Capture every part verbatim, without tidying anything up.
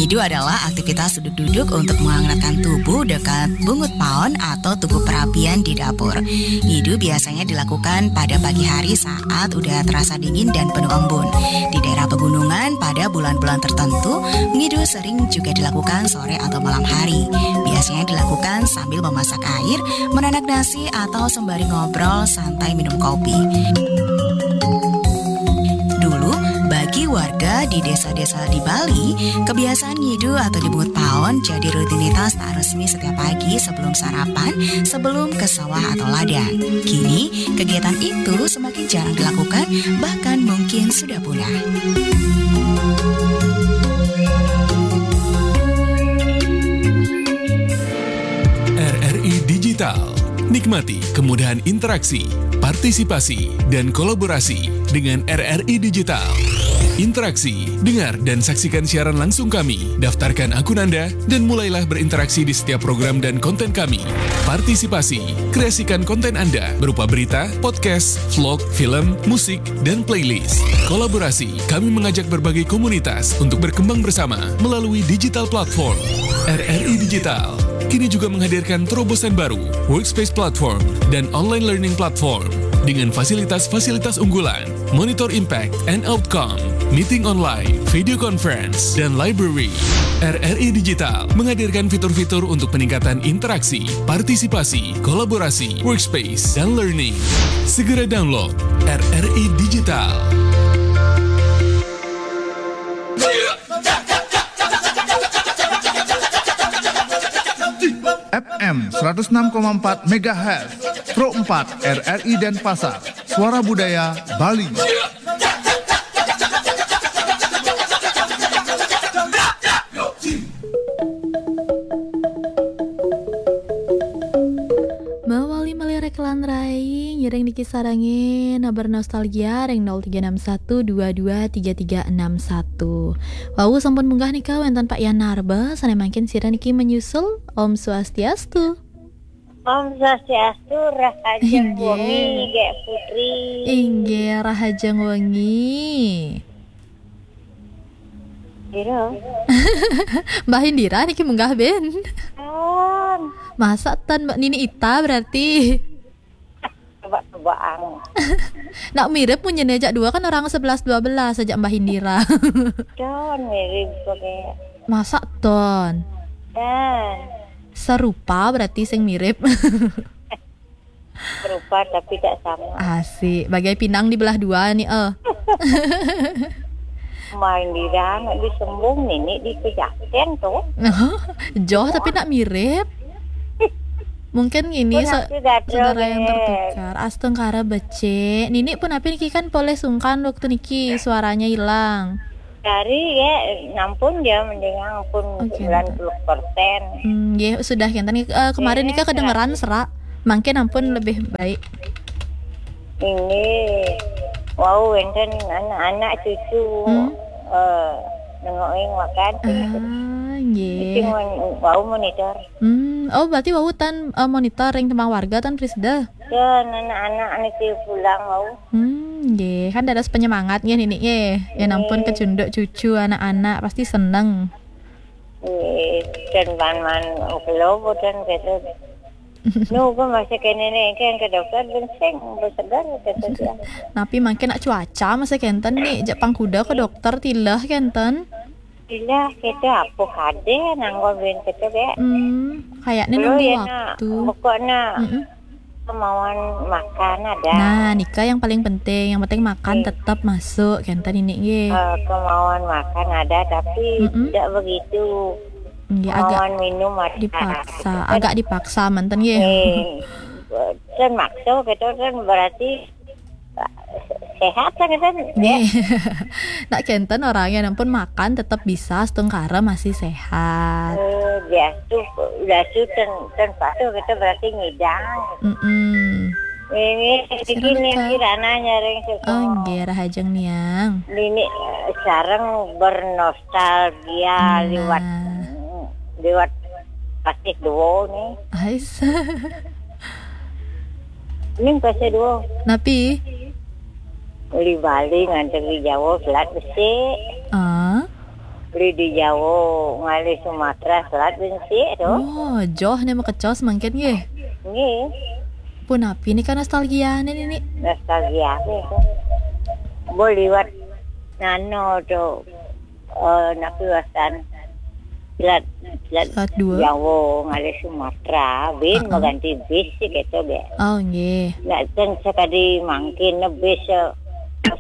Ngidu adalah aktivitas duduk-duduk untuk menghangatkan tubuh dekat bungut paon atau tugu perapian di dapur. Ngidu biasanya dilakukan pada pagi hari saat udah terasa dingin dan penuh embun. Di daerah pegunungan, pada bulan-bulan tertentu, ngidu sering juga dilakukan sore atau malam hari. Biasanya dilakukan sambil memasak air, menanak nasi, atau sembari ngobrol santai minum kopi. Dulu, bagi warga di desa-desa di Bali, kebiasaan ngidu atau dibungut paon jadi rutinitas tak resmi setiap pagi sebelum sarapan, sebelum ke sawah atau ladang. Kini, kegiatan itu semakin jarang dilakukan, bahkan mungkin sudah punah. R R I Digital. Nikmati kemudahan interaksi, partisipasi, dan kolaborasi dengan R R I Digital. Interaksi, dengar, dan saksikan siaran langsung kami. Daftarkan akun Anda dan mulailah berinteraksi di setiap program dan konten kami. Partisipasi, kreasikan konten Anda berupa berita, podcast, vlog, film, musik, dan playlist. Kolaborasi, kami mengajak berbagai komunitas untuk berkembang bersama melalui digital platform. R R I Digital kini juga menghadirkan terobosan baru, Workspace Platform, dan Online Learning Platform, dengan fasilitas-fasilitas unggulan, Monitor Impact and Outcome, Meeting Online, Video Conference, dan Library. R R I Digital menghadirkan fitur-fitur untuk peningkatan interaksi, partisipasi, kolaborasi, workspace, dan learning. Segera download R R I Digital. F M seratus enam koma empat megahertz, Pro empat R R I Denpasar, Suara Budaya Bali. Mawali malirik lan rai, ngiring niki sarengin, bernostalgia ring nol tiga enam satu dua dua tiga tiga enam satu. Wau sampun munggah nika wenten Pak Yan Narba, sane mangkin sira niki menyusul. Om Swastiastu. Om Swastiastu, rahajeng wengi, Gek Putri. Inggih, rahajeng wengi. Pira? Mbah Indira niki munggah ben. Pun. Masa ten Mbak Nini Ita berarti. Coba-cobaan. Nak mirip munyin ajak dua kan orang sebelas dua belas ajak Mbah Indira. Don mirip kok kayak. Masa ton. Dan Serupa berarti sing mirip. Serupa tapi tak sama. Asik, bagai pinang dibelah dua nih eh. Main di dalam nak disembung, nini di pejaten tuh. Joh tapi nak mirip. Mungkin ini Pun sa- aku dah saudara yang deh. Tertukar. Astungkara becik. Nini pun apa niki kan poleh sungkan waktu niki suaranya hilang. Dari ya, nampun dia mendingan pun Oke, sembilan puluh persen. Hmm, nggih, sudah kenten. Eh, kemarin Iya, nika kedengeran serak. Mangkin ampun lebih baik. Ini wow, enten anak-anak cucu Hmm. eh nengokin makan. Ah, nggih. Itu mon- wow monitor. Hmm, oh berarti wau tan eh, monitor ring tembang warga tan Prisda. Dan anak-anak niki pulang wow. Hmm, nggih. Kan dados penyemangat nggih nini nggih. Ya nampun kecunduk cucu anak-anak pasti seneng. Eh, dan man-man ukelobo dan gitu. Nu, gue masih kene nih, kan ke dokter benseng, segar kata dia. Napi mangkin nak cuaca masih kenten nih, jak pangkuda ke dokter tilah kenten. Iya, kita apa kade nanggo ben kita be. Hmm, kayaknya Belum nunggu ya nak, waktu. Pokoknya Mm-mm. kemauan makan ada. Nah, nika yang paling penting. Yang penting makan Iya. tetap masuk kenten ini nggih. Eh, kemauan makan ada, tapi Mm-mm. tidak begitu. Nggih, agak Kemauan minum ada. dipaksa, agak dipaksa manten nggih. Eh, dan makso gitu kan berarti eh, sehat kan kan. Nggih. Nak kenten orangnya nampun makan tetap bisa setungkara masih sehat. Eh, dia tuh udah tuh ten ten patuh kita berarti ngidang. Mm-mm. Ini Silakan. bikin nih kirana nyareng suka. Oh, nggih rahajeng niang. Ini eh, sareng bernostalgia Nah. lewat lewat pasih dua nih. Ais. Ini pasih dua. Napi? Uli Bali nganter di Jawa selat besi. Ah. Beli di Jawa, ngalih Sumatera, selat bensi tu. Oh, joh ni makecos mangkin nggih. Nggih. Punapi nika nostalgia ni, Nini? Nostalgia apa tu? Bo liwat nano tu, eh, napi wastan? Selat, selat Selat dua. Jawa, ngalih Sumatera, bin Oh, oh. maganti bis sih gitu, be. Oh, nggih. Nak ten sekali mangkin bis, eh,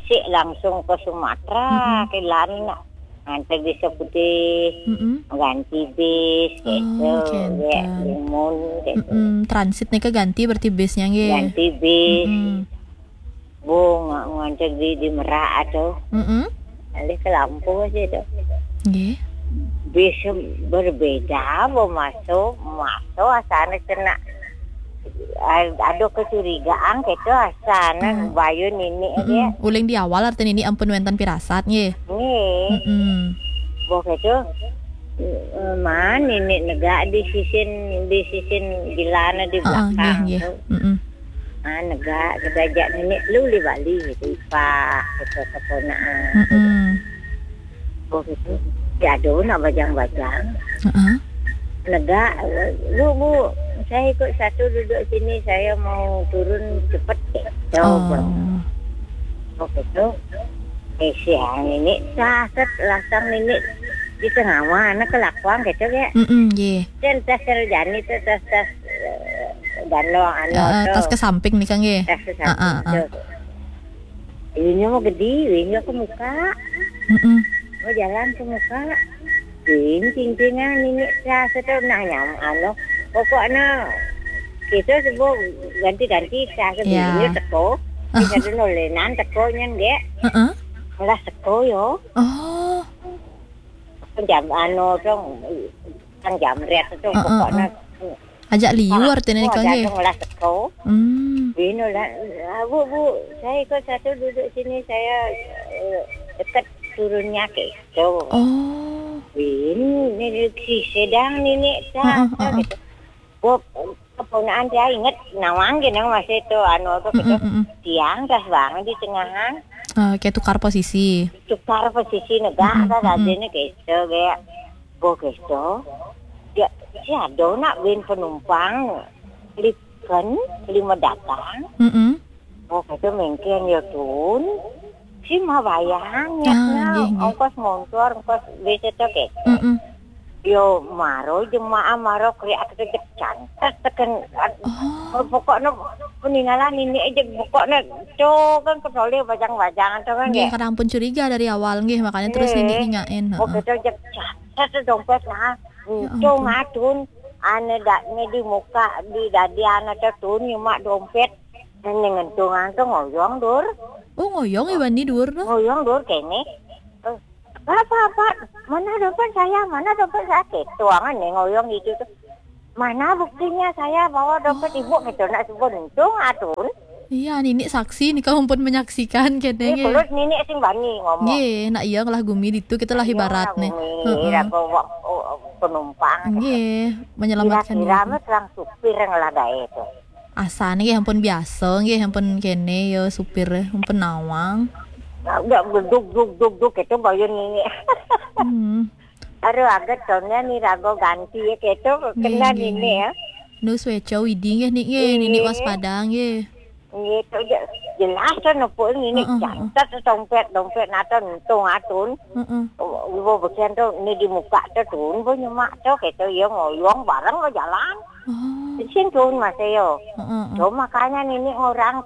sik langsung ke Sumatera, Mm-mm. ke Landak. Nganter bis putih, Mm-mm. ganti bis, Oh, gitu, kenten. Limun, gitu. Mm-mm. Transit nika ganti berarti bisnya, nggih? Ganti bis. Mm-mm. Bu, nga-, nganter di, di Merak tu. Mm-mm. Alih ke Lampung aja tu. Nggih. Bis berbeda, bu, masuk, masuk asana kena, a-, ada kecurigaan, gitu, asana Ah. bayun ini aja. Mm-mm. Uling di awal artinya ini ampun wenten pirasat, nggih? Nggih. Mm-mm. Boh itu, eh, man ini negak di sisin, di sisin gilana di Ah, ah, belakang nggih, nggih. tu. Mm-mm. Ah, negak, kedajak nenek lu di Bali gitu, ipah, gitu, keponaan. Mm-mm. Boh itu, ya ada nak bajang-bajang. Heeh. Negak, "Bu, Bu, saya ikut satu duduk sini, saya mau turun cepet." Gitu, Oh. Bang. Boh itu, eh, siang ini, saset lasang ini di tengah mana kelakuan gitu ya. Mm-mm, nggih. Dan tas kerjaan itu tas-tas, eh, gandong anu Heeh, tu. Tas ke samping nih, Kang, nggih. Tas ke samping Heeh, tu. heeh. Ini mau gede, ini ke muka. Mm-mm. Mau jalan ke muka. Ini cincin yang ini tas itu nah nyam anu. Pokoknya kita sebut ganti-ganti tas Ya. ini teko. Kita dulu lenan teko nyen, nggih. Heeh. Lah teko yo. Oh. Jam anu tu, kan jamret tu Heeh, pokoknya. heeh. Ajak liur Ah, tene oh, nika nggih. Datang lah teko. Hmm. Bino lah, "Ah, Bu, Bu, saya ikut satu duduk sini, saya, eh, dekat turunnya," gitu. Oh. Bini ni si sedang ni ni Heeh, heeh. Gitu. Bob, keponaan dia inget nawang gini masih tu anu tu gitu. Mm-mm, mm-mm. Tiang dah bangun di tengahan. Eh, kayak tukar posisi. Tukar posisi negak Mm-mm, dah mm-mm. Tadi ni gitu kayak, "Bo gitu." Ya, si ada nak bin penumpang likan lima datang. Mm-mm. Oh, kata mengken ya tun. Si mah bayang Ah, ya nggih, nggih. Ongkos montor, ongkos bis itu gitu. Mm-mm. Yo maro jemaah maro kriak kejek cantet teken. Oh. Pokoknya peninggalan ini aja pokoknya tu kan kecuali bajang-bajang tu kan Nggih, ya. Kadang pun curiga dari awal nggih, makanya terus Nggih. Nini nanyain, Oh, heeh. Kita aja cantet tu dompet nah. Ya Untung ampun. Atun ane dak ne di muka di dadi ane tu tun nyemak dompet. Nene ngentungan tu ngoyong dur. Oh, ngoyong iban ni dur tu. Ngoyong dur kene. Eh, apa, apa? Mana dompet saya? Mana dompet saya? Ketuangan ni ngoyong itu tu. Mana buktinya saya bawa dompet ibu gitu nak sebut untung atun. Iya, Nini saksi nih, kamu pun menyaksikan kene Ni nggih. Kulit nini sing bani ngomong. Nggih, nak iya ngelah gumi ditu kita lah Iya, ibarat ngelah nih. Gumi, Heeh. Raga wa-, oh, penumpang gitu. Nggih, menyelamatkan Kira-kira diri. Mah tukang supir yang ngelah gae tu. Asane nggih ampun biasa, nggih ampun kene ya supir, ampun nawang. Nah, udah duk, duk, duk, duk, gitu bayun ini. Hmm. Aduh, agak tahunnya ni raga ganti ya, gitu. Nggih, kena nggih, ini nggih. Ya. Nu sueca widi nggih, Nik, nggih, Nini Nggih. Waspada nggih. Nggih, tu je-, jelas tu nepuk ini, Heeh, heeh. Catat tu dompet, dompet nata untung atun. Heeh. Oh, ibu beken tu ni di muka tu tun, bu nyemak tu, gitu, ya ngoyong bareng ke jalan. Oh. Di sini tun masih yo. Heeh, heeh. Tu makanya nini orang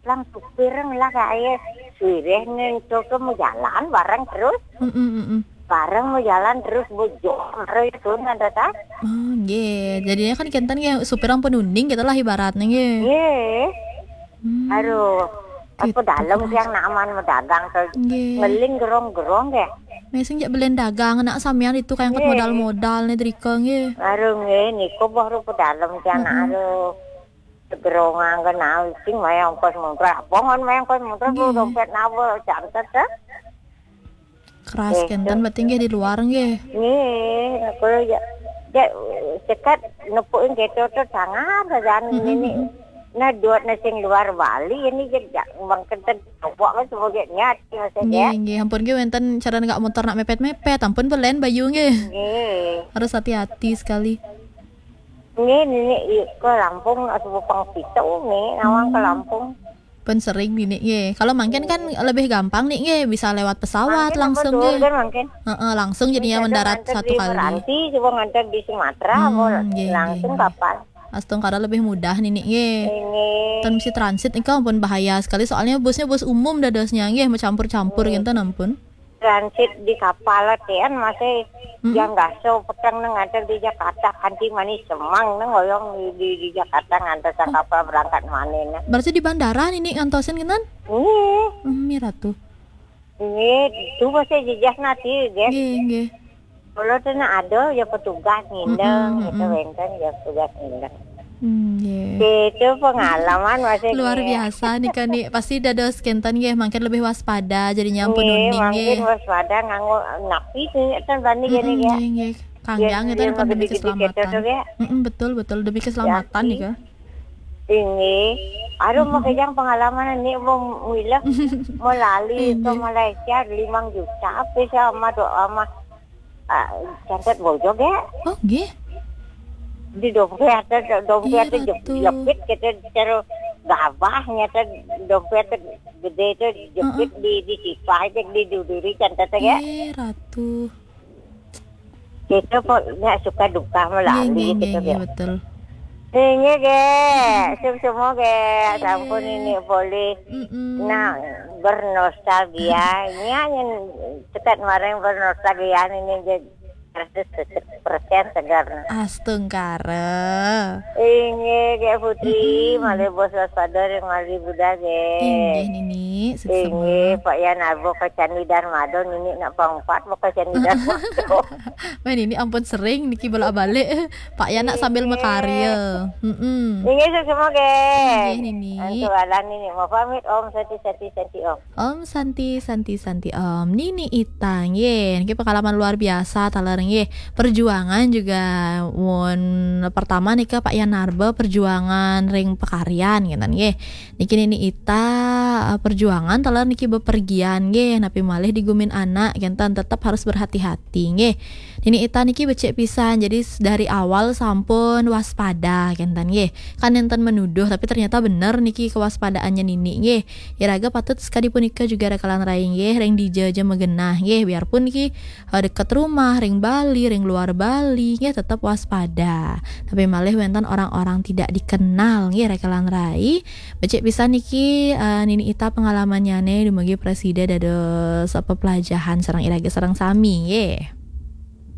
lang supir ngelah gae suireh ni tu ke mau jalan bareng terus. Mm, mm, mm, mm. Bareng mau jalan terus bujur terus tu nanda ta. Oh, nggih. Jadinya kan kenten nggih supir ampun uning kita lah ibaratnya nggih. Nggih. Hmm. Aduh, apa Gitu. Dalam tiang naman medagang tu Nggih. Ngeling gerong-gerong ya. Mesing jak belen dagang nak samian itu kayak angkat Nggih. Modal-modal nih drika nggih. Aduh nggih, niku baru pedalem tiang Heeh. Aduh. Segerongan ke nau sing mayang kos muntra. Bongon mayang kos muntra, Nggih. Dompet nawa, cantet, eh. Keras Eh, kenten tu. Berarti nggih di luar nggih. Nggih, aku ya, ya, sekat nepukin gitu tu sangat saja Mm-mm, ini. Mm-mm. Nah, duat na sing luar Bali ini je, jak bang kenten coba kan semua dia nyat, maksudnya. Nggih, nggih. Ampun nggih wénten cara nggak motor nak mepet-mepet, ampun belen bayu nggih. Nggih. Harus hati-hati sekali. Nggih, ini ke Lampung atau Pang Pitu nih, nawang ke Lampung. Pun sering nini nggih. Kalau mangkin kan lebih gampang nih nggih, bisa lewat pesawat Mangkin langsung apa nggih. dulu, mangkin? Heeh, langsung jadinya Bisa mendarat nganter satu di kali. Meranti, coba nganter di Sumatera, Hmm, mau nggih, langsung nggih, nggih. Kapal. Astungkara lebih mudah nini nggih. Ini Tan mesti transit nika ampun bahaya sekali, soalnya busnya bus umum dadosnya nggih, mau campur-campur gitu ampun. Transit di kapal téh kan masih Mm-mm. yang gaso peteng nang nganter di Jakarta, kanti manis semang nang ngoyong di, di, di Jakarta nganter sa kapal berangkat mana nah. Berarti di bandara nini ngantosin gitu? Nggih, Hmm, Miratu. nggih, itu masih jejak nanti, guys. Nggih, nggih. Kalau tuh nah ada ya petugas ngindeng, Mm-mm, gitu mm-mm. Wénten ya petugas ngindeng. Hmm, nggih. Itu pengalaman masih Luar nggih. Biasa nih kan nih. Pasti dados kenten nggih, mangkin lebih waspada jadinya ampun Nggih, uning mangkin nggih. Waspada nganggo napi sih kan bani gini Mm-mm, ya. nggih, nggih. Kanggiang Yang itu kan dia demi gede-gede keselamatan. gitu ya. Mm-mm, betul, betul, demi keselamatan Yakin. Nika. Ini, aduh mau kejang pengalaman ini mau milah mau lali ke Nggih. Malaysia lima juta apa sih sama doa sama ah, catat bojog ya. Oh, nggih. Di dompet ada dompet Iya, ada jep- Ratu. Jepit kita cara gabahnya tuh dompet tuh gede itu jepit di di sipah itu di duduri catat ya. Eh, Ratu. Kita pokoknya suka duka Nggih, melalui nggih, gitu nggih, nggih, ya. betul. Ini ge, sip semua ge, sampun ini boleh Mm-mm. nah bernostalgia, nya yang dekat mareng bernostalgia ini ge seratus persen segar. Astungkara. Ini ge Putri, malih bos waspada ring malih Buddha ge. Inggih nini, Ini suksema. Pak Yan Arbo ke Candi Darmado, ini nak pangpat mau ke Candi Darmado. Men ini ampun sering niki bolak-balik. Pak Yan nak sambil makarya. Mm-mm. Ini suksema ge. Inggih nini. Antu alan ini mau pamit Om Santi Santi Santi Om. Om Santi Santi Santi Om. Nini Ita nggih. Niki pengalaman luar biasa taler nggih. Perjuangan juga mun pertama nika Pak Yan Arba perjuangan ring pakaryan ngenten nggih. Niki Nini Ita eh, perjuangan taler niki bepergian nggih. Napi malih digumin anak ngenten tetep harus berhati-hati nggih. Nini Ita niki becik pisan. Jadi s- dari awal sampun waspada ngenten nggih. Kan nenten menuduh tapi ternyata bener niki kewaspadaannya Nini nggih. Iraga patut sekadi punika juga rakalan rai nggih, ring dija ja magenah nggih, biarpun niki eh, deket rumah, ring Bali, ring luar Bali nggih, tetep waspada. Tapi malih wenten orang-orang tidak dikenal nggih, rakalan rai. Becik pisan niki eh, Nini Ita pengalamannyane dumugi prasida dados pepelajahan sareng iraga sareng sami nggih.